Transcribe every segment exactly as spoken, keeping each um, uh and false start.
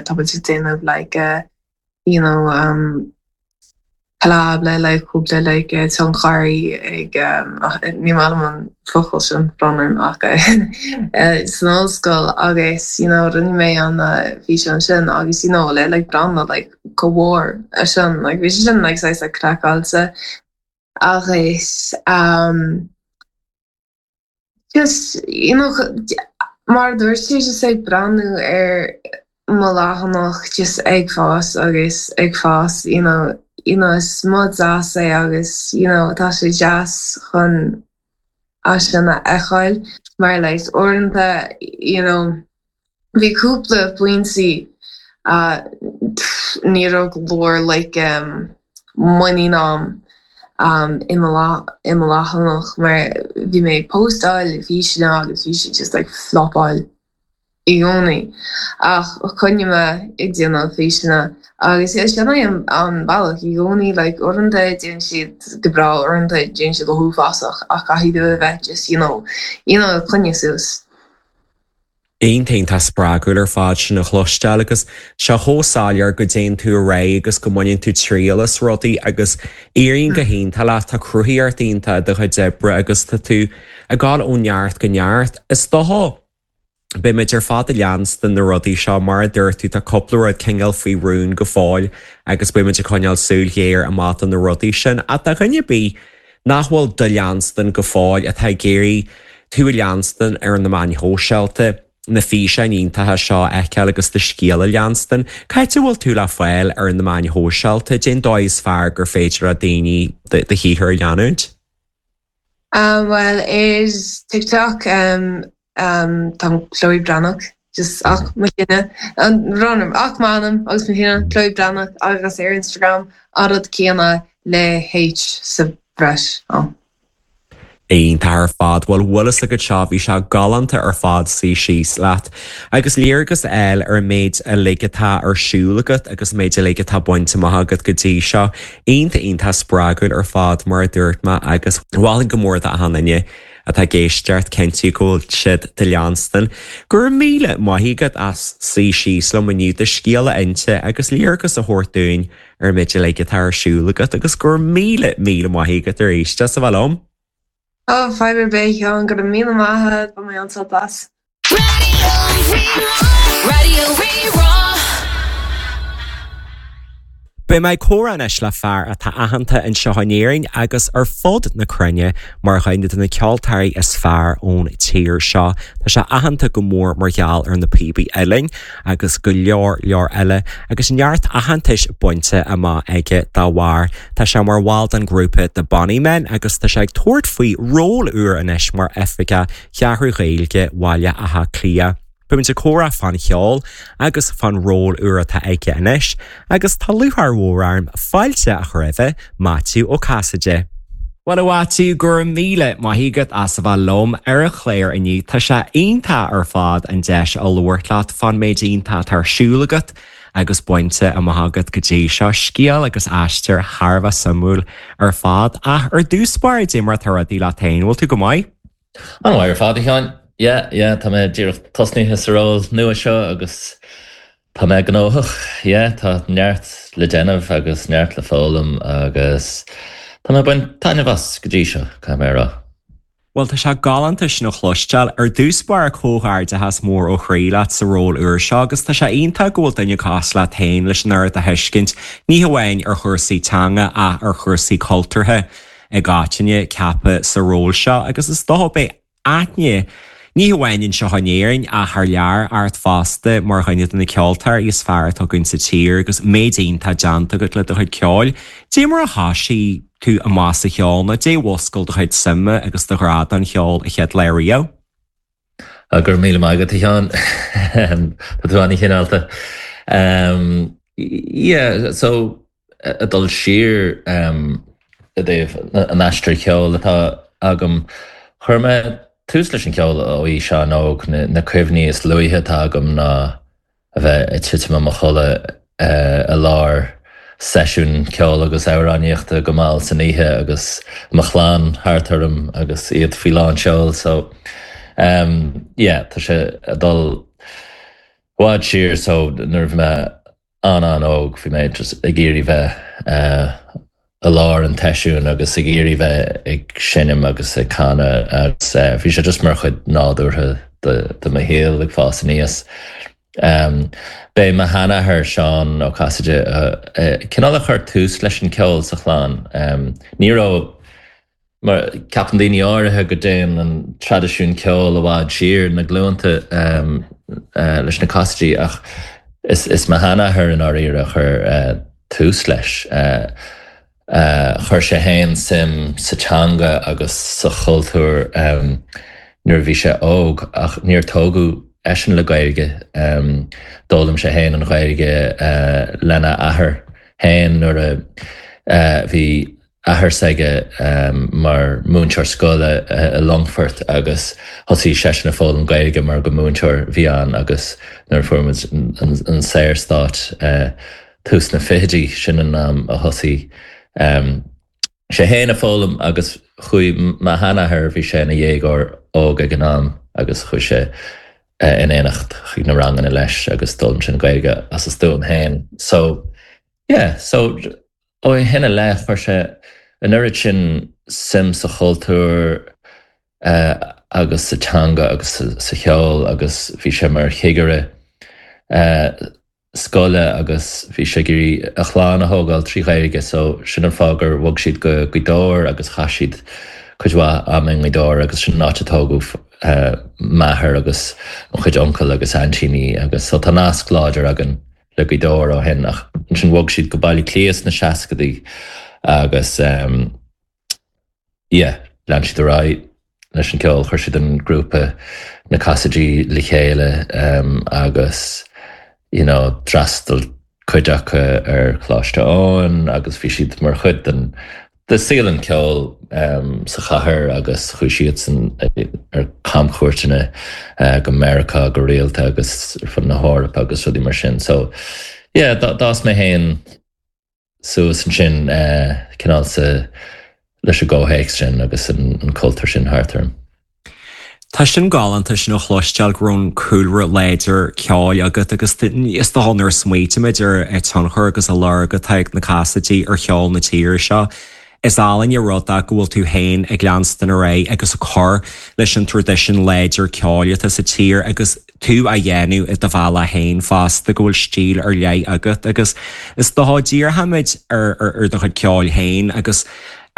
Tá muid ag déanamh like uh, you know um, collab le like cúpla like uh, tionchairí ag um, ní maith liom an focal sin brón ach uh, san ollscoil agus you know rinne mé an uh, físeán sin agus you know le like brand like go mhór a sin like bhí sin like saghas like craiceáilte agus um, just you know mar dúirt sé just ag breathnú ar mo leathanach just ag fás agus ag fás you know you know is rud deas é agus you know tá sé deas chun é sin a fheiceáil mar like uaireanta you know bhí cúpla pointí uh, ní raibh go leor like um, muinín agam um, i mo leathanach mar bhí mé postáil físeáin agus bhí sé just like flopáil i gcónaí ach choinnigh mé ag déanamh físeáin agus é sin an an bealach i gcónaí like uaireanta déanann siad go breá uaireanta déanann siad go huafásach ach caithfidh tú a bheith just you know you know coinneáil suas. Iontach tá spreagúil ar fad sin a chloisteáil agus seo chomh soiléir go dtéann tú ar aghaidh agus go mbaineann tú triail as rudaí agus éiríonn go hiontach leat tá cruthaíocht iontach i do chuid oibre agus tá tú ag dul ó neart go neart. Is dócha Beimid ar fad ag leanstan na rudaí seo mar a dúirt tú tá cúpla rud cineál faoi rún go fóill agus beimid ag coinneáil súil ghéar amach do na rudaí sin ach do dhuine ar bith nach bhfuil do leanstan go fóill atá ag iarraidh tú a leanstan ar na meáin shóisialta na físeáin iontacha seo a fheiceáil agus do scéal a leanstan. Cá háit a bhfuil tú le fáil ar na meáin shóisialta cén dóigh is fearr gur féidir le daoine do shaothar a leanúint? Um, well is TikTok um, um, tá Chloe Breathnach just ach mo chinne an ranam ach manam agus mo chinne Chloe Breathnach agus ar Instagram an rud céanna le H sa bhreis. Oh. Iontach ar fad bhfuil bhfuil agat seo bhí sé galánta ar fad suí síos leat. Agus léargas eile ar an méid uilig atá ar siúl agat agus méid uilig atá bainte amach agat go dtí seo, iontach iontach spreagúil ar fad mar a dúirt mé agus mholfainn go mór d'achan duine atá ag éisteacht cinntiú go bhfuil siad do leanstan. Go raibh míle maith agat as suí síos liom inniu do scéal a inse agus léargas a thabhairt dúinn ar méid uilig atá ar siúl agat agus go raibh míle míle maith agat arís as a bheith liom. Oh, fadhb ar bith an go raibh míle maith ba mé an blas. Radio Rí-Rá. Beidh mé ag comhrá anois le fear atá aitheanta anseo in Éirinn agus ar fud na cruinne mar dhuine de na ceoltóirí is fearr ón tír seo. Tá sé aitheanta go mór mar gheall ar na píobaí uilleann agus go leor leor eile agus neart aitheantais bainte amach aige dá bharr. Tá sé mar bhall den grúpa The Bonny Men agus tá sé ag tabhairt faoi ról úr anois mar Oifigeach Cheathrú Ghaeilge Bhaile Átha Cliath. Beimid ag comhrá fán cheol agus fán ról úr atá aige anois, agus tá lúcháir mhór orm fáilte a chur roimh Maitiú Ó Casaide. Well a Mhaitiú go raibh míle maith agat as a bheith liom ar an chlár inniu Tá sé iontach ar fad an deis a labhairt leat fán méid iontach atá ar siúl agat agus bainte amach agat go dtí seo scéal agus aistear thar a bheith suimiúil ar fad ach ar dtús báire cad é mar atá rudaí leat féin, bhfuil tú go maith? An-mhaith ar fad a Sheáin. Yeah, yeah, tá mé díreach tosnaithe sa ról nua seo agus tá mé gnóthach, yeah, tá neart le déanamh agus neart le foghlaim agus tá mé ag baint taitneamh as go dtí seo caithfidh mé a rá. Well tá sé galánta sin a chloisteáil ar dtús báire comhghairdeachas mór ó chroí leat sa ról úr seo agus tá sé iontach go bhfuil duine cosúil leat féin leis an oiread de thuiscint ní hamháin ar chúrsaí teanga ach ar chúrsaí cultúrtha i gcoitinne ceaptha sa ról seo agus is dócha beidh aithne ní hamháin anseo in Éirinn ach thar lear ort fosta mar dhuine de na ceoltóirí is fearr atá againn sa tír agus méid iontach déanta agat le do chuid ceoil. Cad é mar a thosaigh tú amach sa cheol nó cad é a mhúscail do chuid suime agus do ghrá don cheol an chéad lá riamh. Go raibh míle maith agat a Sheáin Tá tú an-chineálta. Um, yeah, so a dul siar um, i dtaobh an aistear ceoil atá agam chuir mé tús leis an ceol ó aois an-óg na, na cuimhní is luaithe atá agam ná a bheith ag titim i mo chodladh uh, i lár seisiún ceoil agus amhránaíochta go mall san oíche agus mo chlann thart orm agus iad faoi lán seoil so um, yeah, tá sé ag dul bhfad siar so nuair a bhí mé an-an-óg bhí mé just ag iarraidh bheith uh, i lár an tseisiúin agus ag iarraidh bheith ag seinm agus ag canadh agus uh, bhí sé just mar chuid nádúrtha de, de mo shaol ag fás aníos. Um, B'é mo sheanathair Seán Ó Casaide uh, uh, cineál a chuir tús leis an ceol sa chlann. Um, ní raibh mar ceapann daoine áirithe go dtéann an traidisiún ceoil i bhfad siar na glúnta um, uh, leis na Casaidí ach is, is mo sheanathair in áirithe a chuir uh, tús leis. Uh, uh, chuir sé féin suim sa teanga agus sa chultúr um, nuair bhí sé óg ach níor tógadh eisean le Gaeilge um, d'fhoghlaim sé féin an Ghaeilge uh, lena athair féin nuair a uh, bhí athair s'aige um, mar múinteoir scoile uh, i Longfort agus thosaigh seisean ag foghlaim Gaeilge mar gur múinteoir a bhí ann agus nuair a fuair muid an, an, an Saorstát uh, tús na fichidí sin an am a thosaigh um, sé féin ag foghlaim agus chuaigh mo sheanathair bhí sé ina dhéagóir óg ag an am agus chuaigh sé uh, in éineacht chuig na ranganna leis agus d'fhoghlaim sé an Ghaeilge as a stuaim féin. So yeah, so ó shin i leith chuir sé an oiread sin suim sa chultúr uh, agus sa teanga agus sa, sa cheol agus bhí sé mar chigire uh, scoile agus bhí sé ag iarraidh a chlann a thógáil trí Ghaeilge so sin an fáth gur bhog siad go Gaoth Dobhair agus chaith siad cuid mhaith ama i nGaoth Dobhair agus sin an áit a tógadh uh, m'athair agus mo chuid uncail agus aintíní agus so tá nasc láidir againn le Gaoth Dobhair ó shin ach ansin bhog siad go Baile Átha Cliath sna seascaidí agus um, yeah, lean siad ar aghaidh leis an ceol chuir siad an grúpa na Casaidí le chéile um, agus you know, d'fhreastail cuid acu ar Choláiste Eoin agus bhí siad mar chuid den de saol an ceol um, sa chathair agus chuaigh siad san ar camchuairteanna uh, go Meiriceá go rialta agus ar fud na hEorpa agus rudaí mar sin. So yeah, d'fhás mé féin suas ansin uh, cineál sa leis an gcomhthéacs sin agus an, an cultúr sin thart orm. Tá sin galánta sin a chloisteáil go raibh an cúlra láidir ceoil agat agus is dócha nuair a smaoinímid ar an tionchar agus an lorg atá ag na Casaidí ar cheol na tíre seo. Is álainn an rud é go bhfuil tú féin ag leanstan ar aghaidh agus ag cur leis an traidisiún láidir ceoil atá sa tír agus tú á dhéanamh i do bhealach féin fosta go bhfuil stíl ar leith agat agus is dócha díreoimid ar ar do chuid ceoil féin agus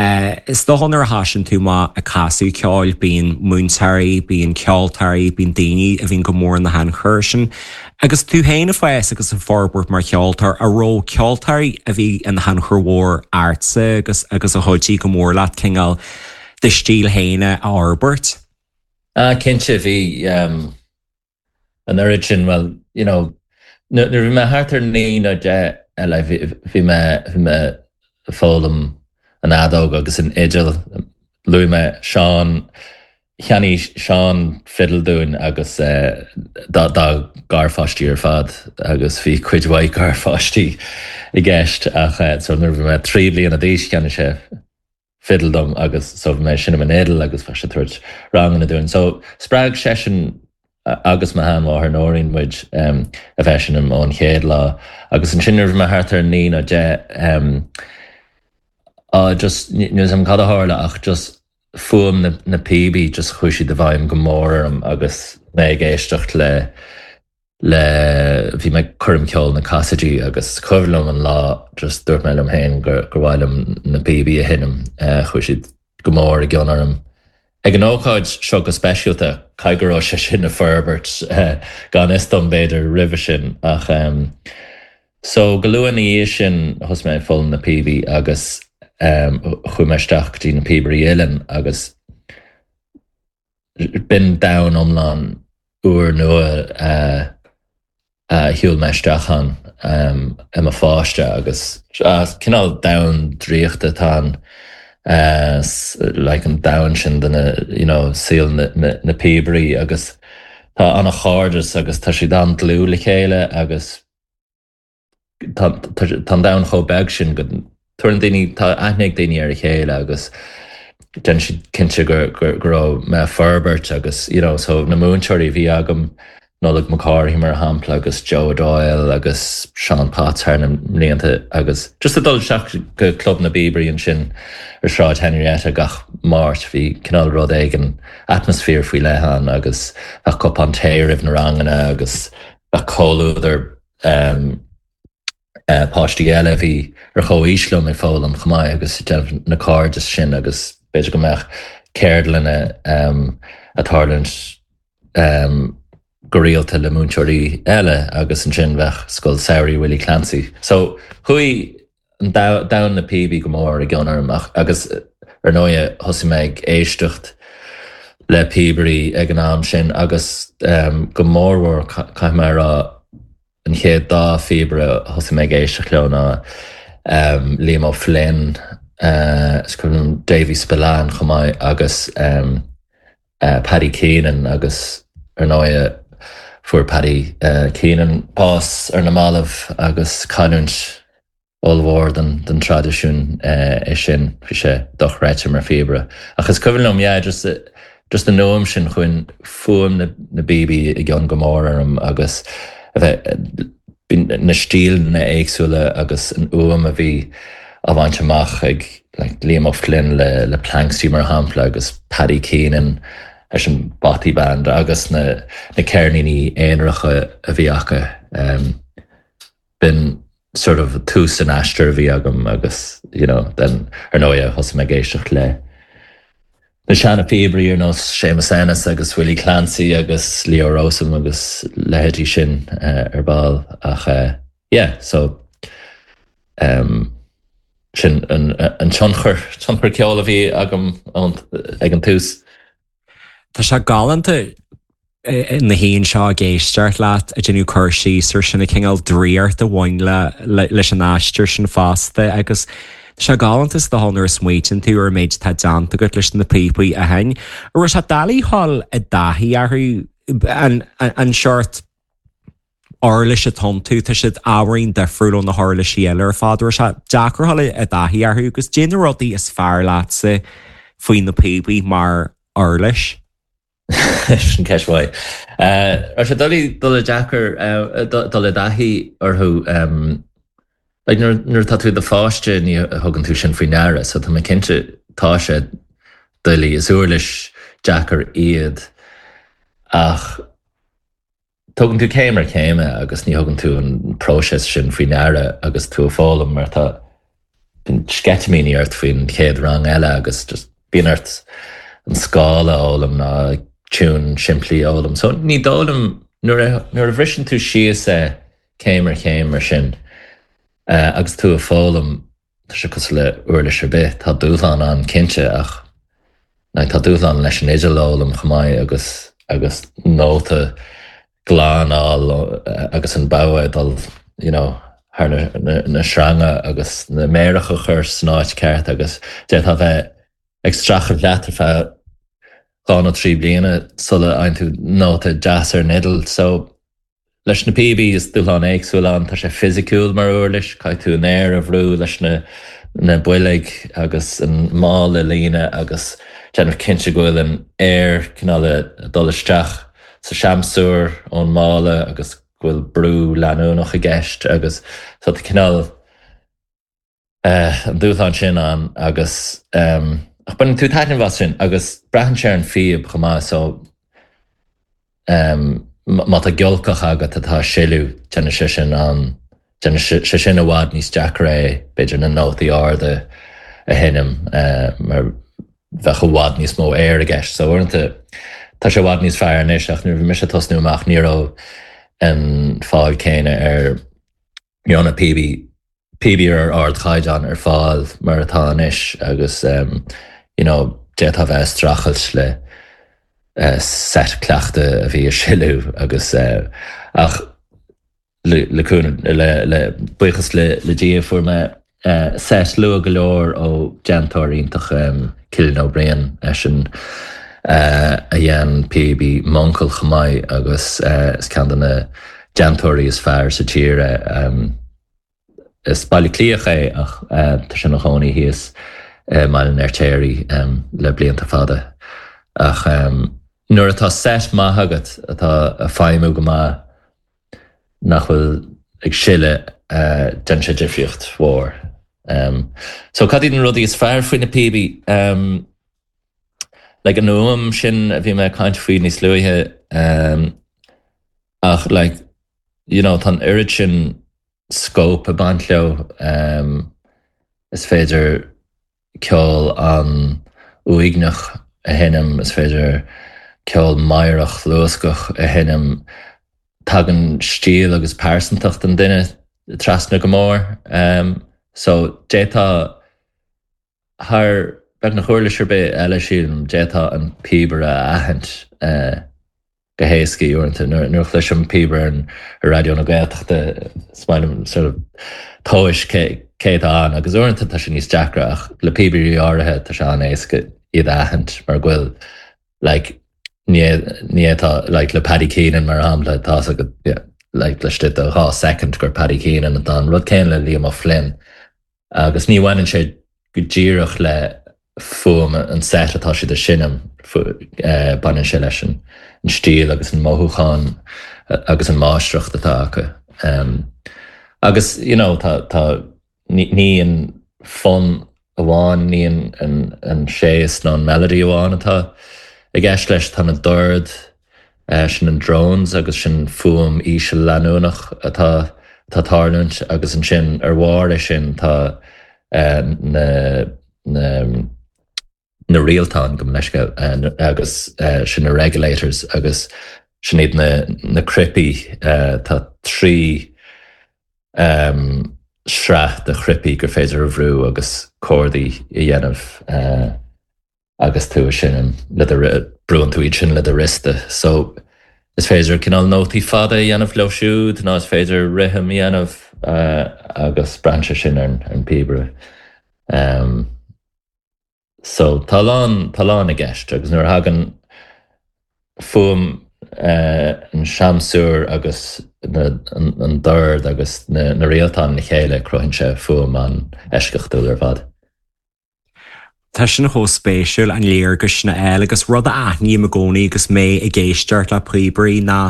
Uh, is dócha nuair a thosaíonn tú amach ag casadh ceoil bíonn múinteoirí, bíonn ceoltóirí, bíonn daoine a bhíonn go mór ina thionchar sin. Agus tú féin ag fás agus ag forbairt mar cheoltóir an raibh ceoltóirí a bhí ina thionchar mhór ortsa agus agus a chuidigh go mór leat cineál do stíl féin a fhorbairt. Ah cinnte bhí um, an oiread sin well you know nuair bhí mé thart ar naoi nó deich eile bhí mé bhí mé foghlaim an fheadóg agus an fhidil luaigh mé Seán cheannaigh Seán fidil dúinn agus uh, dá dá garpháistí ar fad agus bhí cuid mhaith garpháistí i gceist ach uh, so nuair bhí mé trí bliana d'aois cheannaigh sé fidil dom agus so bhí mé ag seinm an fhidil agus bhí sé ag tabhairt ranganna dúinn. So spreag seisean agus mo sheanmháthair Nóirín muid um, a bheith ag seinm ón chéad lá agus ansin nuair bhí mé thart ar naoi nó deich um, uh, just níl am cad a tharla ach just fuaim na, na píobaí just chuaigh siad i bhfeidhm go mór orm agus mé ag éisteacht le le bhí mé coirm ceoil na Casaidí agus cuimhin liom an lá just dúirt mé liom féin gur gur mhaith liom na píobaí a sheinm uh, chuaigh siad go mór i gcion orm. Ag an ócáid seo go speisialta caithfidh go raibh sé sin ag forbairt uh, gan fhios dom b'fhéidir roimhe sin ach um, so go luath ina dhiaidh sin thosaigh mé ag foghlaim na píobaí agus um, chuaigh mé isteach go dtí na Píobairí Uilleann agus b'in domhan iomlán úrnua uh, uh, shiúil mé isteach ann um, i mo pháiste agus uh, cineál domhan draíochta atá ann uh, like an domhan sin de na you know, saol na, na, na píobairí agus tá an-chairdeas agus tá siad an-dlúth le chéile agus tá an domhan chomh beag sin go tugann daoine tá aithne ag daoine ar a chéile agus déanann siad cinnte gur gur go raibh mé ag forbairt agus you know, so na múinteoirí bhí agam Nollaig Mac Cárthaigh mar shampla agus Joe Doyle agus Sean Potts thar na mblianta agus just a dul isteach go Club na bPíobairí ansin ar Sráid Henrietta gach Máirt bhí cineál rud éigin atmaisféar faoi leith ann agus bheadh cupán tae roimh na ranganna agus bheadh comhluadar um, uh, páistí eile a bhí ar chomhaois liom ag foghlaim chomh maith agus déanamh na cairde sin agus b'fhéidir go mbeadh ceardlanna um, ag tarlúint um, go rialta le múinteoirí eile agus ansin bheadh Scoil Samhraidh Willie Clancy. So chuaigh an domhan na píobaí go mór i gcion orm agus ar ndóigh thosaigh mé ag éisteacht le píobairí ag an am sin agus um, go mórmhór caithfidh mé a rá an chéad dá phíobaire a thosaigh mé ag éisteacht leo ná um, Liam O'Flynn, uh, is cuimhin liom Davy Spillane chomh maith agus um, uh, Paddy Keenan agus ar ndóigh fuair Paddy uh, Keenan bás ar na mallaibh agus cailliúint ollmhór den, den traidisiún uh, é sin bhí sé dochreidte mar phíobaire. Ach is cuimhin liom yeah, just, just an am sin chuaigh fuaim na, na bpíobaí i gcion go mór orm agus a bheith na stíleanna éagsúla agus an fhuaim a bhí á bhaint amach ag like, Liam O'Flynn le, le Planxty mar shampla agus Paddy Keenan leis an Bothy Band agus na, na ceirníní aonaracha a bhí acu. Um, b'in sort of tús an aistear a bhí agam agus you know, then ar ndóigh thosaigh mé ag éisteacht le na seana phíobairí ar nós Séamus Ennis agus Willie Clancy agus Leo Rowsome agus leithéidí sin uh, ar ball ach uh, yeah, so um, sin an, an tionchar tionchar ceoil a bhí agam ag an tús. Tá sé galánta na haon seo ag éisteacht leat ag déanamh cur síos ar sin an cineál draíocht a bhain le leis an aistear sin fosta agus sé galánta is do nuair a smaoiníonn tú ar méid atá déanta agat leis na píopaí a sheinm. Raibh sé doiligh dul i dtaithí orthu an, an, an seort uirlis atá iontu tá siad ábhairín difriúil ó na huirlisí eile ar fad raibh sé deacair dul i dtaithí orthu agus cad é na rudaí is fearr leatsa faoi na píopaí mar uirlis. Sin ceist mhaith. Raibh sé doiligh dul i deacair dul i dtaithí orthu nuair atá tú i do pháiste ní thugann tú sin faoi deara, so tá mé cinnte tá sé doiligh is uirlis deacair iad ach tugann tú céim ar chéim agus ní thugann tú an próiseas sin faoi deara agus tú ag foghlaim mar tá sceitimíní ort faoin chéad rang eile agus just bíonn ort an scála a fhoghlaim ná tiún simplí a fhoghlaim. So ní dóigh liom nuair a bhriseann tú síos é céim ar chéim mar sin uh, agus tú ag foghlaim tá sé cosúil le uirlis ar bith tá dúshlán ann cinnte ach na tá dúshlán leis an fhidil a fhoghlaim chomh maith agus agus nóta glan a fháil agus an bogha dul you know, thar na, na, na sreanga agus na méaracha a chur san áit ceart agus d'fhéadfá bheith ag streachailt leat ar feadh dhá nó trí bliana sula bhfaigheann tú nóta deas ar an fhidil. So leis na píobaí is dúshlán éagsúil ann tá sé fisiciúil mar uirlis, caithfidh tú an aer a bhrú leis na na boilg agus an mála a líonadh agus déanamh cinnte go bhfuil an aer cineál dul isteach sa seamsúr ón mála agus go bhfuil brú leanúnach i gceist agus so tá cineál uh, an dúshlán sin ann agus um, ach baineann tú taitneamh as sin agus braitheann sé ar an phíob chomh maith so um, má tá giolcach agat atá ag sileadh déanann sé sin an déanann sé sin i bhfad níos deacra é b'fhéidir na nótaí arda a sheinm uh, mar bheadh i bhfad níos mó aer i gceist. So uaireanta tá sé i bhfad níos fearr anois ach nuair a bhí mise ag tosnú amach ní raibh an fáil céanna ar ní raibh na píobaí píobaí ar ardchaighdeán ar fáil mar atá anois agus um, you know, d'fhéadfá bheith ag streachailt le uh, set cleachta a bhí ag sileadh agus uh, ach le, le, le, le buíochas le, le Dia fuair mé uh, set luath go leor ó déantóir iontach um, Cillian Ó Briain eisean uh, a dhéan píobaí m'uncail chomh maith agus uh, is ceann de na déantóirí is fearr sa tír um, is Baile Átha Cliathach é ach uh, tá sé ina chónaí thíos uh, Baile an Fheirtéaraigh um, le blianta fada ach um, Nuair atá set maith agat atá ag feidhmiú go maith nach bhfuil ag sileadh uh, déanann sé difríocht mhór. Um, so cad iad na rudaí is fearr faoi na píobaí um, like an fhuaim sin a bhí mé ag caint faoi níos luaithe um, ach like, you know, tá an oiread sin scope ag baint leo um, is féidir ceol an-uaigneach a sheinm is féidir ceol meidhreach luascach a sheinm tagann stíl agus pearsantacht an duine trasna go mór um, so d'fhéadfá thar beagnach uirlis ar bith eile sílim d'fhéadfá an píobaire a aithint uh, go héasca uaireanta nuair a chloisim píobaire an ar Raidió na Gaeltachta is maith liom sort of tomhais cé cé atá ann agus uaireanta tá sé níos deacra ach le píobairí áirithe tá sé an-éasca iad a aithint mar go bhfuil like ní ní atá like le Paddy Keenan mar shampla tá go yeah, like laistigh de dhá second gur Paddy Keenan atá an rud céanna le Liam O'Flynn agus ní bhaineann sé go díreach le fuaim an set atá siad a sheinm uh, baineann sé leis an an stíl agus an mothúchán agus an máistreacht atá acu. Um, agus you know, tá, tá ní, ní an fonn amháin ní an, an, an séis nó an melody amháin atá i gceist leis tá na doird uh, sin an drones agus sin fuaim íseal leanúnach atá tá tarlúint agus ansin ar bharr é sin tá uh, na, na na rialtáin go leis uh, agus uh, sin na regulators agus sin iad na, na cnaipí uh, tá trí um, sraith de chnaipe gur féidir a bhrú agus cordaí a dhéanamh uh, agus tú sin le brúnn tú iad sin le do wriosta. So is féidir cineál nótaí fada a dhéanamh leo siúd nó is féidir rithim a dhéanamh uh, agus braitheann sé sin ar an píobaire. Um, so tá lán tá lán i gceist agus nuair a thagann fuaim uh, an seamsúr agus na, an, an dord agus na, na rialtáin le chéile cruthaíonn sé fuaim an-eisceachtúil ar fad. Tá sin chomh spéisiúil an léargas sin a fháil agus rud a aithním i gcónaí agus mé ag éisteacht le píobairí ná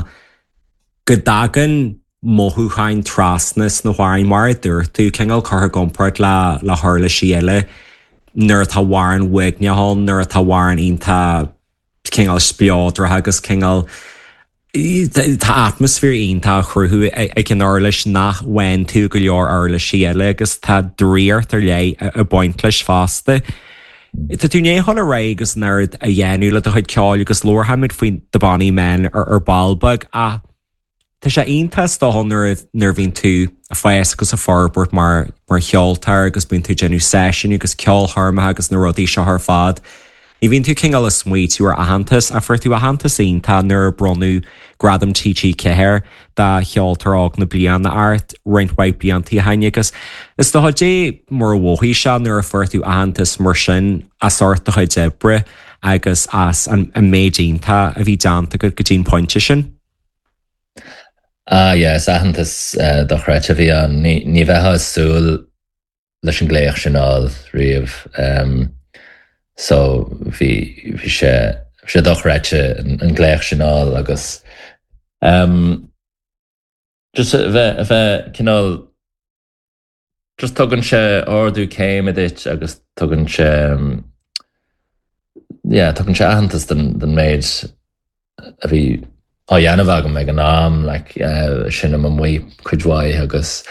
go dtagann mothúcháin trasna sna hamhráin mar a dúirt tú cineál curtha i gcomparáid le le huirlisí eile nuair atá amhrán uaigneach ann nuair atá amhrán iontach cineál spleodrach agus cineál Tá atmaisféar iontach á chruthú ag an uirlis nach bhfaigheann tú go leor uirlisí eile agus tá draíocht ar leith ag baint leis fosta. Tá tú i ndiaidh dul ar aghaidh agus an oiread a dhéanamh le do chuid ceoil agus labharfaimid faoi The Bonny Men ar ar ball beag ach Tá sé iontach dócha nuair nuair a bhíonn tú ag fás agus ag forbairt mar mar cheoltóir agus bíonn tú ag déanamh seisiún agus ceolchoirmeacha agus na rudaí seo ar fad. Ní bhíonn tú cineál ag smaoitiú ar aitheantas ach fuair tú aitheantas iontach nuair a bronnadh Gradam TG Ceathair do cheoltóir óg na bliana ort roinnt mhaith blianta ó shin agus is dócha cad é mar a mhothaigh sé nuair a fuair tú aitheantas mar sin as ucht do chuid oibre agus as an an méid iontach a bhí déanta agat go dtí an pointe sin. Ah yeah, is aitheantas uh, dochreidte a bhí ann. Ní, ní bheifeá ag súil leis an glaoch sin a fháil riamh. Um, so bhí bhí sé bhí sé dochreidte an, an glaoch sin a fháil agus um, just a bheith a bheith cineál just tugann sé ardú céime duit agus tugann sé um, yeah, tugann sé aitheantas den, den méid a bhí á dhéanamh agam ag an am like, uh, sin am amuigh cuid mhaith agus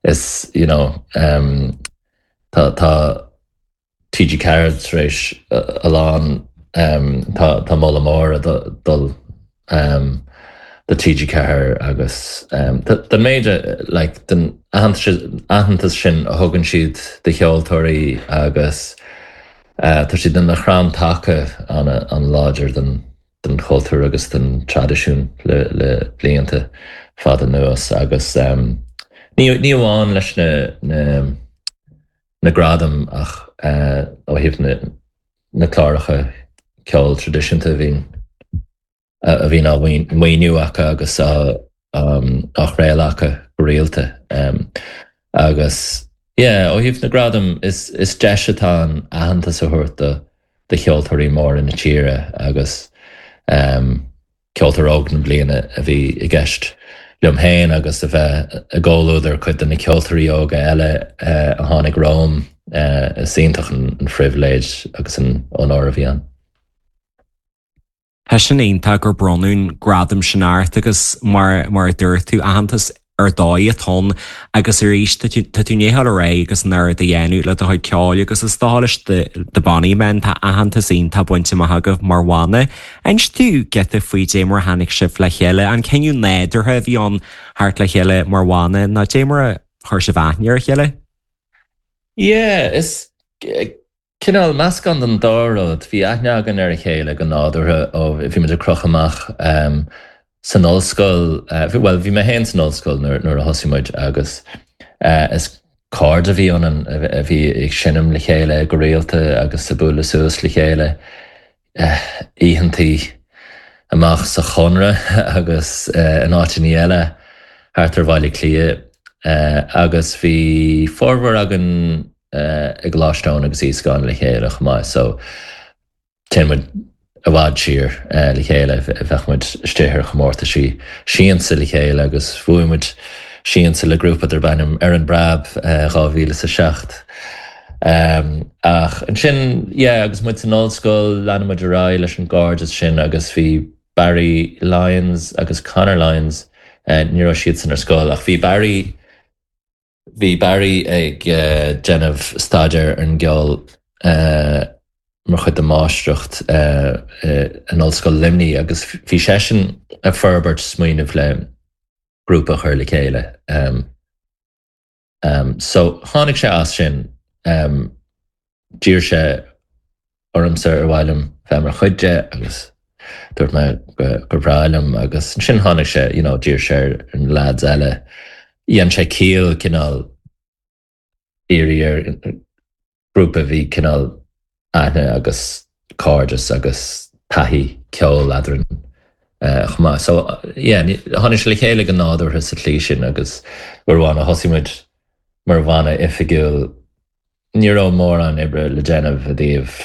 is you know, um, tá tá TG Ceathair tar éis a lán um, tá tá moladh mór ag dul um, do TG Ceathair agus um, den méid like, den aitheantas sin a thugann siad do cheoltóirí agus uh, tá siad ina chrann taca an an-láidir den den chultúr agus den traidisiún le, le blianta fada anuas agus um, ní, ní amháin leis na, na, na gradaim ach uh, ó thaobh na, na cláracha ceol traidisiúnta a bhíonn a bhíonn á maoiniú acu agus á um, á chraoladh acu go rialta. Um, agus yeah, ó thaobh na gradam is, is deis atá ann aitheantas a thabhairt do do cheoltóirí móra na tíre agus Ceoltóir Óg na Bliana a bhí i gceist liom féin agus a bheith i gcomhluadar cuid de na ceoltóirí óga eile a tháinig romham, is iontach an phribhléid agus an onóir a bhí ann. Tá sin iontach gur bronnadh an gradam sin ort agus mar mar a dúirt tú, aitheantas ar dóigh atá ann agus arís tá tú tá tú i ndiaidh dul ar aghaidh agus an oiread a dhéanamh le do chuid ceoil agus is dócha leis The Bonny Men tá aitheantas iontach bainte amach agaibh mar bhanna. Inis dúinn giota faoi dé mar a tháinig sibh le chéile, an cinneadh nádúrtha a bhí ann theacht le chéile mar bhanna nó dé mar a chuir sibh aithne ar a chéile? Yeah, is cineál meascán den dá rud. Bhí aithne againn ar a chéile go nádúrtha ó bhí muid ag crochadh amach san ollscoil, bhuel bhí mé féin san ollscoil nuair a thosaigh muid agus is cairde a bhí ionainn a bhí ag seinm le chéile go rialta agus ag bualadh suas le chéile oícheantaí amach sa Chonradh agus in áiteanna eile thart ar Bhaile Átha Cliath agus bhí formhór againn i gColáiste Eoin agus Íosacáin le chéile chomh maith so téann muid i bhfad siar le chéile, bheadh muid istigh ar chomórtaisí siansa le chéile agus bhuaigh muid siansa le grúpa darb ainm Ar an Bpreab dhá mhíle is a seacht. Ach ansin, yeah, agus muid san ollscoil, lean muid ar aghaidh leis an gcairdeas sin agus bhí Barry Lyons agus Conor Lyons, ní raibh siadsan ar scoil ach bhí Barry, Bhí Barry ag déanamh staidéar ar an gceol mar chuid de mháistreacht in Ollscoil Luimnigh agus bhí seisean ag forbairt smaoineamh le grúpa a chur le chéile. So tháinig sé as sin. D'iarr sé ormsa ar mhaith liom bheith mar chuid de agus dúirt mé gur bhreá liom agus ansin tháinig sé, you know, d'iarr sé ar na lads eile, dhein sé ciall cineál iarraidh ar ghrúpa a bhí cineál aithne agus cairdeas agus taithí ceoil eadrainn chomh maith. So yeah, tháinig sé le chéile go nádúrtha sa tslí sin agus uair amháin a thosaigh muid mar bhanna oifigiúil, Ní raibh mórán oibre le déanamh i dtaobh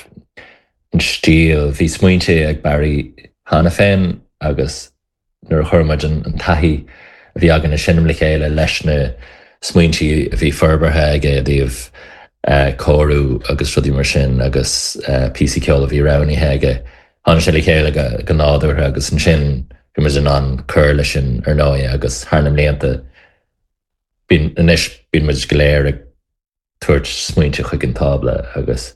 an stíl. Bhí smaointe ag Barry cheana féin agus nuair a chuir muid an taithí a bhí againn ag seinm le chéile leis na smaointe a bhí forbartha aige i dtaobh cóiriú agus rudaí mar sin agus píosaí ceoil a bhí roghnaithe aige, tháinig sé le chéile go nádúrtha agus ansin bhí muid in ann cur leis sin ar ndóigh agus thar na mblianta bíonn anois bíonn muid go léir ag tabhairt smaointe chuig an tábla agus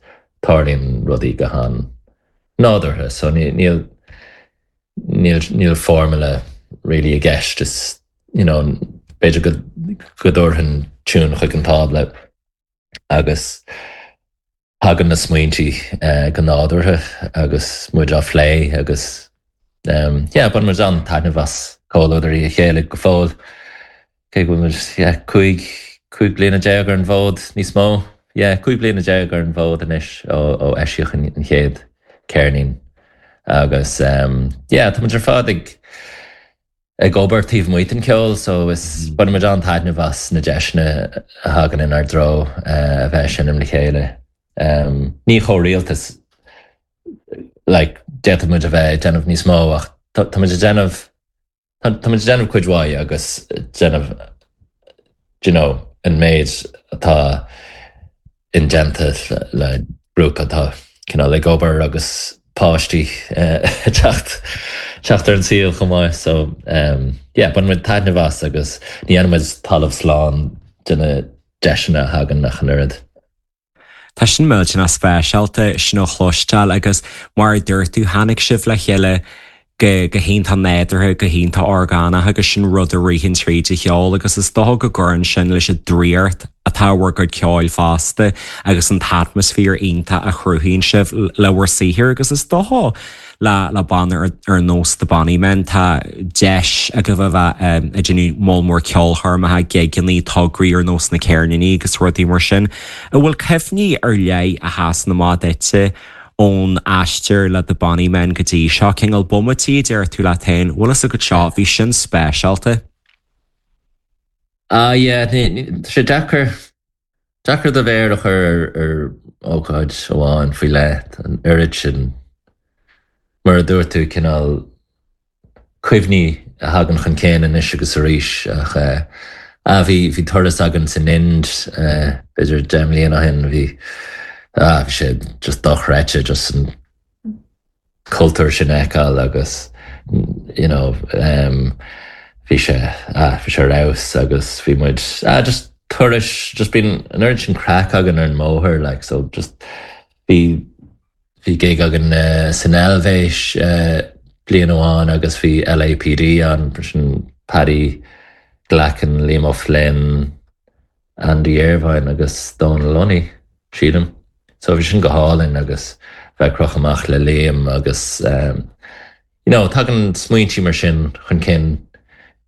tarlaíonn rudaí go han-nádúrtha so níl níl níl formula really i gceist is you know b'fhéidir go go dtabharfainn tiún chuig an tábla agus tagann na smaointe go nádúrtha agus muid á phlé agus yeah baineann muid an-taitneamh as comhluadar a chéile go fóill. Cé go bhfuil muid, yeah, cúig, cúig bliana déag ar an bhfód, níos mó, yeah, cúig bliana déag ar an bhfód anois ó, ó eisíodh an, an chéad ceirnín. Agus, um, yeah, tá muid ar fad ag, ag obair taobh amuigh den cheol, so is, baineann muid an-taitneamh as na deiseanna a thagann inár dtreo uh, a bheith ag seinm le chéile. Um, ní chomh rialta is, like, d'fhéadfadh muid a bheith ag déanamh níos mó ach tá, tá muid ag déanamh Tá muid ag déanamh cuid mhaith agus déanamh do you know an méid atá indéanta le grúpa atá cineál ag obair agus páistí ag teacht teacht ar an saol chomh maith so yeah baineann muid taitneamh as agus ní dhéanann muid talamh slán de na deiseanna a thagann ach an oiread. Tá sin millteanach speisialta sin a chloisteáil agus mar a dúirt tú tháinig sibh le chéile go go hiontach nádúrtha, go hiontach orgánach agus sin rud a ritheann tríd an cheol agus is dócha go gcuireann sin leis an draíocht atá i bhur gcuid ceoil fosta agus an t-atmaisféar iontach a chruthaíonn sibh le bhur saothar agus is dócha le le banna ar ar nós The Bonny Men tá deis agaibh a bheith ag déanamh moll mór ceolchoirmeacha, gigeanna, tograí ar nós na ceirníní agus rudaí mar sin. An bhfuil cuimhní ar leith a sheasann amach duitse ón aistear le The Bonny Men go dtí seo? Cineál bomaití a deir tú leat féin, bhfuil fhios agat seo, bhí sin speisialta. Ah yeah, tá sé deacair Deacair do mhéar a chur ar ócáid amháin faoi leith, an oiread sin mar a dúirt tú cineál cuimhní a thagann chun cinn anois agus arís ach eh, ah, bhí bhí turas againn san Ind eh, b'fhéidir deich mbliana ó shin bhí ah, bhí sé just dochreidte just an cultúr sin a fheiceáil agus you know, um, bhí sé ah, bhí sé ar fheabhas agus bhí muid ah, just turas just bíonn an oiread sin craic againn ar an mbóthar like, so just bhí bhí gig againn uh, san Eilvéis uh, bliain amháin agus bhí LAPD ann sin Paddy Glackin, Liam O'Flynn, Andy Irvine agus Donal Lunny sílim. So bhí sin go hálainn agus bheith ag crochadh amach le Liam agus um, you know, tagann smaointe mar sin chun cinn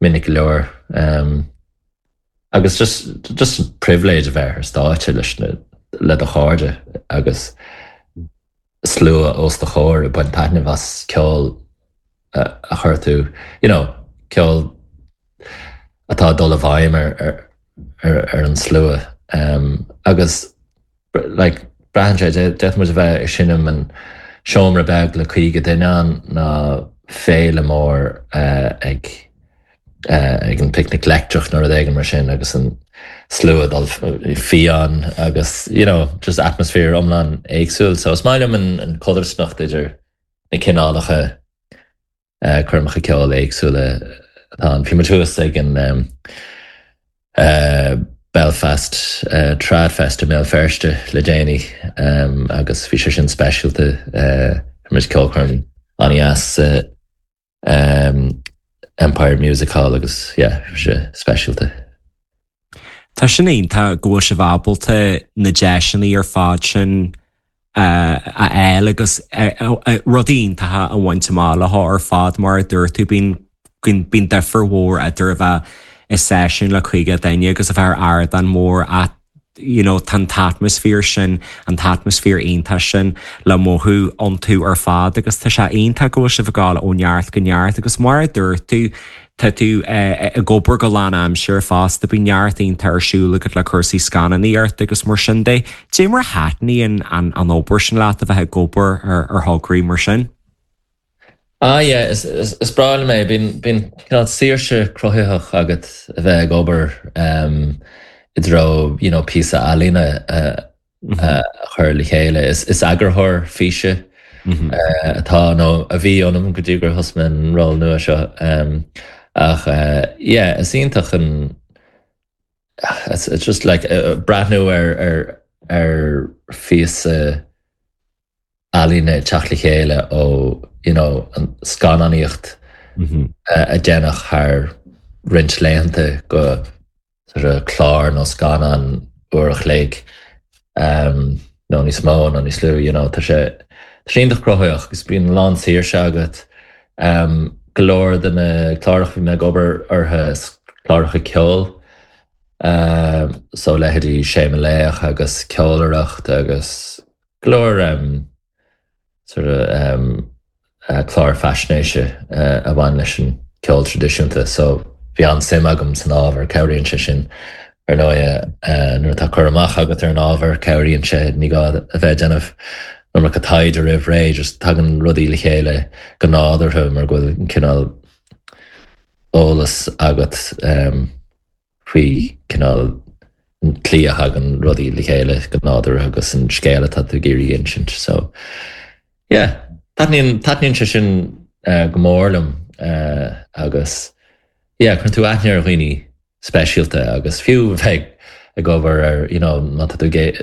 minic go leor. Um, agus just just pribhléid a bheith ar stáitse leis na le do chairde agus slua os do chomhair ag baint taitneamh as ceol a a chuir tú you know, ceol atá dul i bhfeidhm ar, ar, ar, ar an slua. Um, agus like, braitheann sé d'fhéadfadh muid a bheith ag seinm in seomra beag le caoga duine ann ná féile mór uh, ag uh, ag an Picnic Leictreach nó rud éigin mar sin agus an slua dul fiáin agus you know, just atmaisféar iomlán éagsúil. So is maith liom an, an chodarsnacht idir na cineálacha uh, coirmeacha ceoil éagsúla atá ann. Bhí muid thuas ag an um, uh, Belfast uh, Tradfest i mBéal Feirste le déanaí um, agus bhí sé sin speisialta uh, muid ceolchoirm an-deas uh, um, Empire Music Hall agus yeah, bhí sé speisialta. Tá sin iontach go bhfuil sibh ábalta na deiseanna ar fad sin uh, a fháil agus uh, uh, rudaí iontacha a bhaint amach le ar fad mar a dúirt tú bíonn bíonn difear mhór idir a bheith i seisiún le caoga duine agus a bheith ar ardán mór at you know, tá an t-atmaisféar sin an t-atmaisféar iontach sin le mothú iontu ar fad agus tá sé iontach go bhfuil sibh ag gabháil ó neart go neart agus mar a dúirt tú tá tú ag obair go lánaimseartha fosta bíonn neart iontach ar siúl agat le cúrsaí scannánaíocht agus mar sin de. Cé mar a thaitníonn an an obair sin leat a bheith ag obair ar ar thograí mar sin? Ah yeah, is, is, is breá liom é bíonn bíonn cineál saoirse cruthaitheach agat a bheith ag obair um, i dtreo you know, píosa ealaíne a, a chur le chéile. Is, is eagarthóir físe uh, atá nó a bhí ionam go dtí gur thosaigh mé an ról nua seo. Um, ach uh, yeah, is iontach an it's, it's just like uh, breathnú ar ar ar phíosa ealaíne teacht le chéile ó you know, an scannánaíocht uh, a déanadh thar roinnt laethanta go sort of clár nó scannán uair a chloig um, nó níos mó nó níos lú you know, tá sé tá sé iontach cruthaitheach agus bíonn lán saoirse agat um, go leor de na cláracha bhí mé ag obair orthu is cláracha ceoil um, so leithéidí Sé Mo Laoch agus ceolaireacht agus go leor um, sort of um, uh, clár faisnéise uh, a bhain leis an ceol traidisiúnta, so bhí an-suim agam san ábhar cabhraíonn sé sin ar ndóigh uh, nuair atá cur amach agat ar an ábhar cabhraíonn sé ní gá a bheith déanamh an iomarca taighde roimh ré, just tagann rudaí le chéile go nádúrtha mar go bhfuil an cineál eolas agat um, faoi cineál an tslí a thagann rudaí le chéile go nádúrtha agus an scéal atá tú ag iarraidh a insint. So yeah, taitníonn taitníonn sé sin uh, go mór liom uh, agus yeah, cuireann tú aithne ar dhaoine speisialta agus fiú bheith ag obair ar you know, má tá tú ag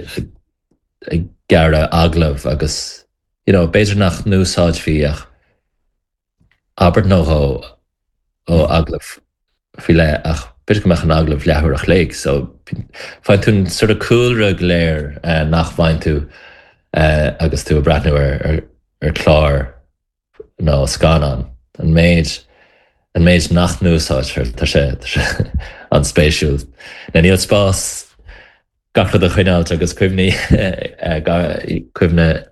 ag gearradh agallamh agus you know, b'fhéidir nach n-úsáidfí ach abairt nó dhó ó agallamh faoi leith ach b'fhéidir go mbeadh an agallamh leathuair a chloig, so faigheann tú an sort of cúlra go léir uh, nach bhfaigheann tú uh, agus tú ag breathnú ar, ar, ar chlár nó scannán. An méid an méid nach n-úsáidtear tá sé tá sé an-spéisiúil. Na níl spás gach rud a choinneáil agus cuimhní eh, ga- cuimhne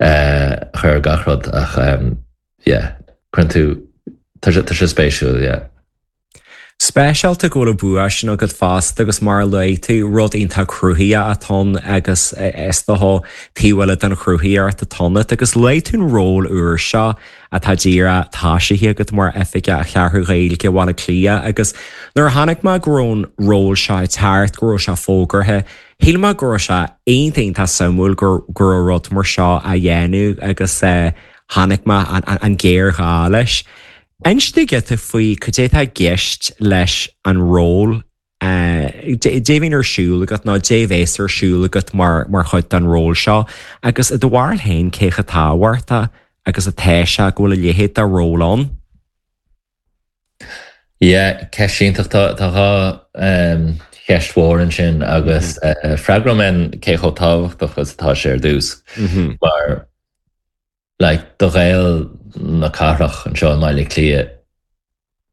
eh, chur gach rud ach um, yeah, cuireann tú tá sé tá sé spéisiúil, yeah. Speisialta go bhfuil an bua sin agat fosta agus mar a luaigh tú rud iontach cruthaitheach atá ann agus is dócha taobh eile den chruthaíocht atá ionat agus luaigh tú an ról úr seo atá díreach tosaithe agat mar Oifigeach Cheathrú Ghaeilge Bhaile Átha Cliath agus nuair a chonaic mé go raibh an ról seo ag teacht go raibh sé fógartha shíl mé go raibh sé iontach iontach suimiúil go raibh rud mar seo á dhéanamh agus chonaic mé an géarghá leis. Inis giota faoi cad é atá i gceist leis an ról Dé bhíonn ar siúl agat nó dé bhéas ar siúl agat mar mar chuid den ról seo, agus i do bharúil féin cé chomh tábhachtach agus atá sé go bhfuil a leithéid de ról ann. Yeah, ceist iontach tá tá dhá cheist mhór ansin agus freagróidh mé cé chomh tábhachtach is atá sé ar dtús mar like do Ghaeil na cathrach anseo i mBaile Átha Cliath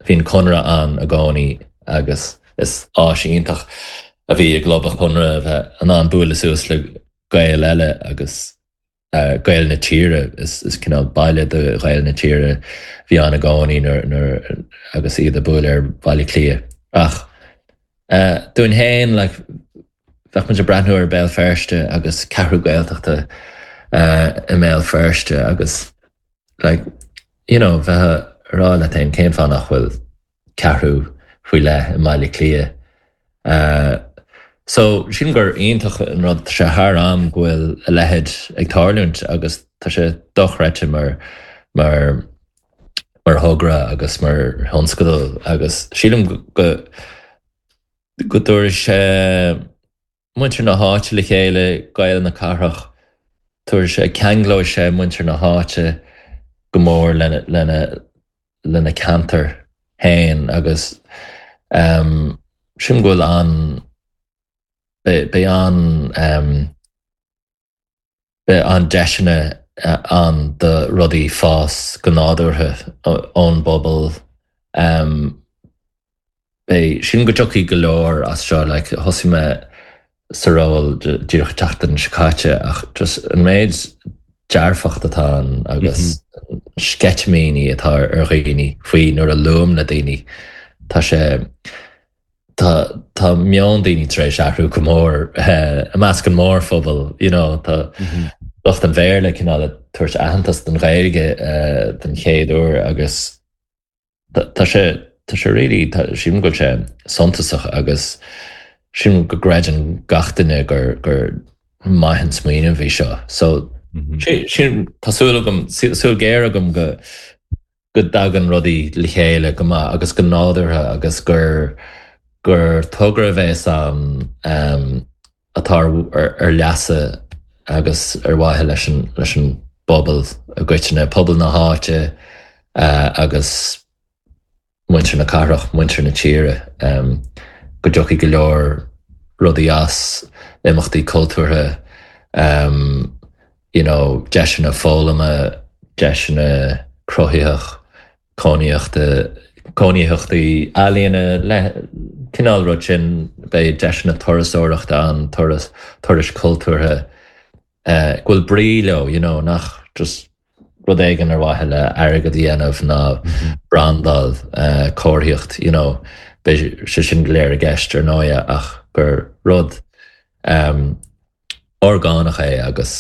bhí an Conradh ann i gcónaí agus is áis iontach a bhí i gClub an Chonradh bheith in ann bualadh suas le Gaeil eile agus uh, Gaeil na tíre is, is cineál baile do Ghaeil na tíre bhí ann i gcónaí nuair agus iad ag bualadh ar Bhaile Átha Cliath. Ach uh, dúinn féin like, bheadh muid ag breathnú ar Béal Feirste agus ceathrú Gaeltachta uh, i mBéal Feirste agus like, you know, bheith rá le féin cén fáth nach bhfuil ceathrú faoi leith i mBaile Átha Cliath. Uh, so sin gur iontach an rud sé thar am go bhfuil a leithéid ag tarlúint agus tá sé dochreidte mar mar mar thogra agus mar thionscadal agus sílim go go dtabharfaidh sé muintir na háite le chéile Gaeil na cathrach tabharfaidh sé ceanglóidh sé muintir na háite go mór lena lena lena ceantar féin agus um, sin go bhfuil an be an um, be an deiseanna ann do rudaí fás go nádúrtha ón bpobal um, Be sin go dtiocfaidh go leor as seo like, thosaigh mé sa ról díreach tseachtain seo caite ach just an méid dearfacht atá ann agus mm -hmm. sceitimíní atá ar dhaoine faoi nuair a luaim le daoine Tá sé tá tá meon daoine tar éis athrú go mór i measc an mórphobal you know, tá mm -hmm. lucht an Bhéarla cineál tabhairt aitheantas don Ghaeilge uh, den chéad uair agus tá sé tá sé really sílim go bhfuil sé suntasach agus sin go gcreideann gach duine gur gur maith an smaoineamh é seo. So mm -hmm. sin tá súil agam súil ghéar agam go go dtagann rudaí le chéile go maith agus go nádúrtha agus gur gur togra bheas ann um, atá ar, ar leasa agus ar mhaithe leis an leis an bpobal i gcoitinne pobal na háite uh, agus muintir na cathrach muintir na tíre um, go dtiocfaidh go leor rudaí as imeachtaí cultúrtha um, you know, deiseanna foghlama deiseanna cruthaitheach cónaíochta cónaíochtaí ealaíona le cineál rud sin beidh deiseanna turasóireachta an turas turais cultúrtha uh, go bhfuil brí leo you know, nach just rud éigin ar mhaithe le airgead a dhéanamh ná brandáil uh, comharthaíocht you know, beidh sé sin go léir i gceist ar ndóigh ach gur rud um, orgánach é agus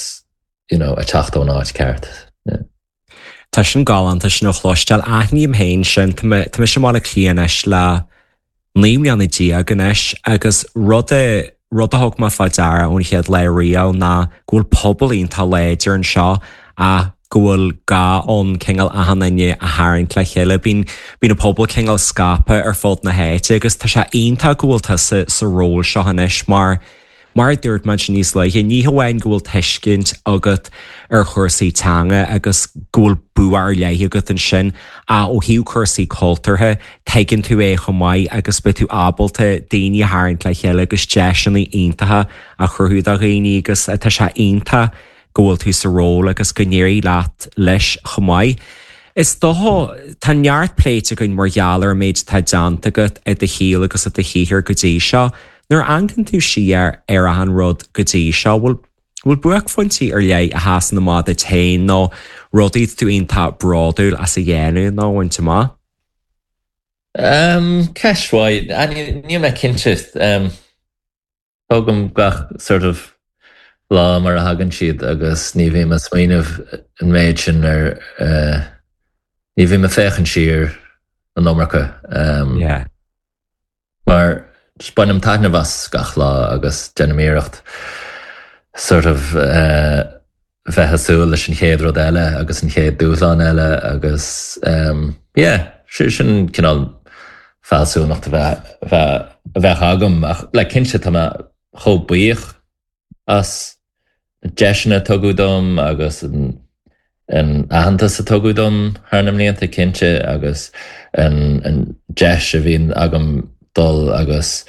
you know, a teacht ón áit ceart. Yeah. Tá sin galánta sin a chloisteáil aithním féin sin tá mise i mBaile Átha Cliath anois le naoi mbliana déag anois agus rud a rud a thug mé faoi deara ón chéad lá riamh ná go bhfuil pobal iontach láidir anseo ach go bhfuil gá ann cineál achan duine a tharraingt le chéile. Bíonn bíonn an pobal cineál scaipthe ar fud na háite agus tá sé iontach go bhfuil tusa sa ról seo anois mar mar a dúirt muid níos luaithe, ní hamháin go bhfuil tuiscint agat ar chúrsaí teanga agus go bhfuil bua ar leith agat ansin ach ó thaobh cúrsaí cultúrtha tuigeann tú é chomh maith agus beidh tú ábalta daoine a tharraingt le chéile agus deiseanna iontacha a chruthú do dhaoine agus tá sé iontach go bhfuil tú sa ról agus go n-éirí leat leis chomh maith. Is dócha tá neart pléite againn mar gheall ar an méid atá déanta agat i do shaol agus i do shaothar go dtí seo. Nuair a amharcann tú siar ar achan rud go dtí seo, bhfuil bhfuil buaicphointí ar leith a sheasann amach duit féin nó rudaí tú iontach bródúil as a dhéanamh nó a bhaint amach? Um, ceist mhaith níl mé cinnte um, tógaim gach sort of lá mar a thagann siad agus ní bhím ag smaoineamh an méid sin ar uh, ní bhím ag féachaint siar an iomarca um, Yeah. mar bainim taitneamh as gach lá agus déanaim iarracht sort of uh, bheith ag súil leis an chéad rud eile agus an chéad dúshlán eile agus um, yeah, sin cineál fealsúnacht a bheith a bheith agam ach le cinnte tá mé chomh buíoch as deiseanna a tugadh dom agus an an aitheantas a tugadh dom thar na mblianta cinnte agus an, an deis a bhíonn agam dul agus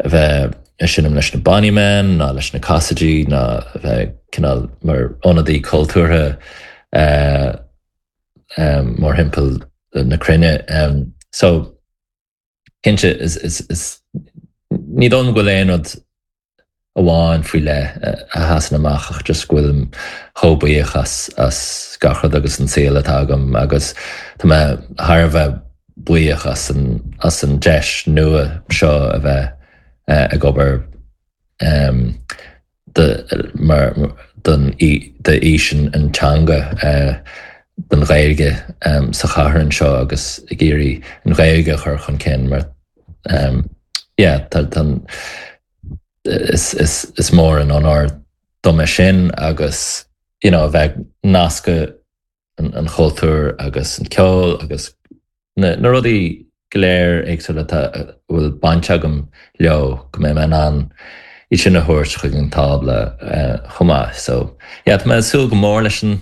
a bheith ag seinm leis na Bonny Men ná leis na Cassidy ná a bheith cineál mar ionadaí cultúrtha uh, um, mórthimpeall na cruinne. Um, so cinnte is, is, is, ní dóigh go bhfuil aon rud amháin faoi leith a sheasann amach ach just go bhfuilim chomh buíoch as as gach rud agus an saol atá agam agus tá mé thar a bheith buíoch as an as an deis nua seo a bheith uh, ag obair um, de, mar don d'fhís an, an teanga uh, don Ghaeilge um, sa chathair anseo agus ag iarraidh an Ghaeilge a chur chun cinn mar um, yeah, tá, tá, is, is, is mór an onóir dom é sin agus you know, a bheith nasctha an, an chultúr agus an ceol agus na, na rudaí go léir éagsúla a bhfuil baint agam leo go mbeidh mé in ann iad sin a thabhairt chuig an tábla uh, chomh maith. So yeah, tá mé ag súil go mór leis an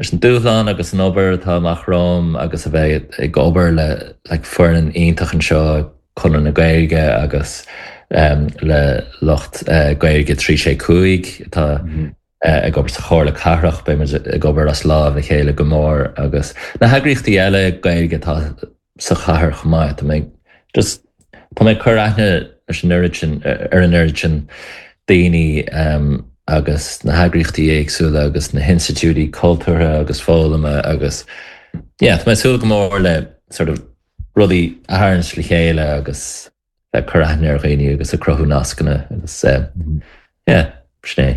leis an dúshlán agus an obair atá amach romham agus a bheith ag obair le like, foireann iontach anseo Conradh na Gaeilge agus um, le lucht uh, Gaeilge trí sé cúig atá mm -hmm. uh, ag obair sa Chomhairle Cathrach beimid ag obair as lámh a chéile go mór agus na heagraíochtaí eile Gaeilge atá sa chathair chomh maith Tá mé just tá mé cur aithne leis an oiread sin ar an oiread sin daoine um, agus na heagraíochtaí éagsúla agus na hinstitiúidí cultúrtha agus foghlama agus yeah, tá mé ag súil go mór le sort of rudaí a tharraingt le chéile agus bheith cur aithne ar dhaoine agus ag cruthú nascanna agus uh, yeah, sin é.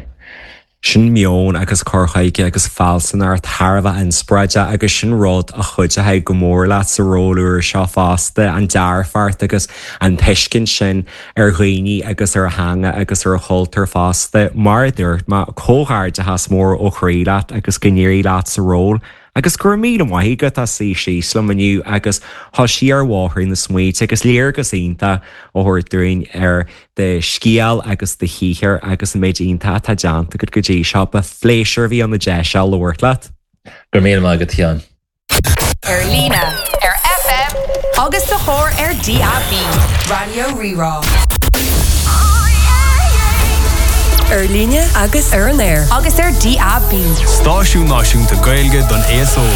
Sin meon agus cur chuige agus fealsúnacht thar a bheith inspioráideach agus sin rud a chuideoidh go mór leat sa ról úr seo fosta an dearfacht agus an tuiscint sin ar dhaoine agus ar theanga agus ar chultúr fosta mar dúirt mé comhghairdeachas mór ó chroí leat agus go n-éirí leat sa ról. Agus gur mí mhaith go sí sí slam inniu agus thá sí ar bhóthar na smaointe agus léargas iontach á thabhairt dúinn ar do scéal agus do shaothar agus an méid iontach atá déanta agat go dtí seo ba phléisiúr a bhí ann an deis seo labhairt leat. Gur mí agat Sheáin. Ar líne, ar FM agus sa charr ar DAB. Raidió Rí-Rá. Ar líne agus ar an aer agus ar DAB. Stáisiún náisiúnta Gaeilge don aos óg.